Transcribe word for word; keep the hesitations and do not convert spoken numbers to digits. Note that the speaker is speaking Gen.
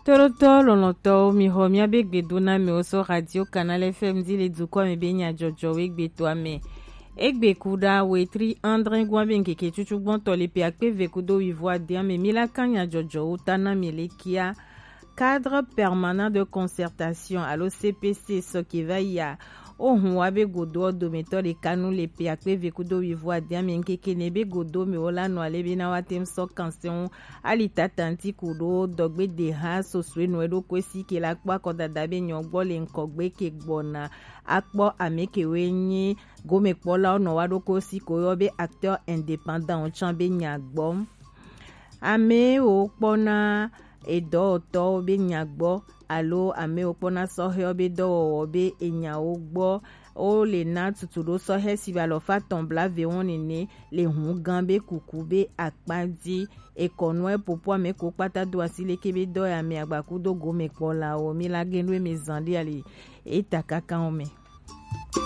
Tolotɔ lɔlɔtɔwo, mi xɔ miabe gbedonamewo sɔ Radio Canal F M di le dukɔ me be nyajɔjɔwo egbe toa me. Egbe ku ɖa wetri andre gua be ŋkeke cucu gbɔntɔ le pe akpe ve kudo wivo adia me, mi la kan nyajɔjɔwo ta na mi le kia. Cadre permanent de concertation alo C P C sɔ ke va yia. Ohun wa be godo ɔ dometɔ ɖeka nu le pe akpe ve kudo wivo adia me ŋkeke ne be godo me wo la nɔ ale be na wa tem sɔ kanse ŋu ali tata ŋti ku ɖo dɔgbe de ha soso enu eɖo ko si ke la kpɔ akɔdada be nyɔ gbɔ le ŋkɔgbe ke gbɔna akpɔ ame ke we nyi gomekpɔlawo nɔ wa ɖo ko si ko yɔ be acteur indépendant can be nya gbɔ. Amewo kpɔna edɔwɔtɔwo be nya gbɔ alo amewo kpɔna sɔhɛwo be dɔwɔwɔ be enyawo gbɔ. Wo le na tutu ɖo sɔhɛ si ba lɔ fa tɔn bla ve wɔn nene le hun gan be kuku be akpa di. Ekɔnuɛ popo ame ko kpata do asi leke be dɔ ya me agbaku do gome kpɔ la wo mi la gen do eme zan ɖi ali eta kaka wo me.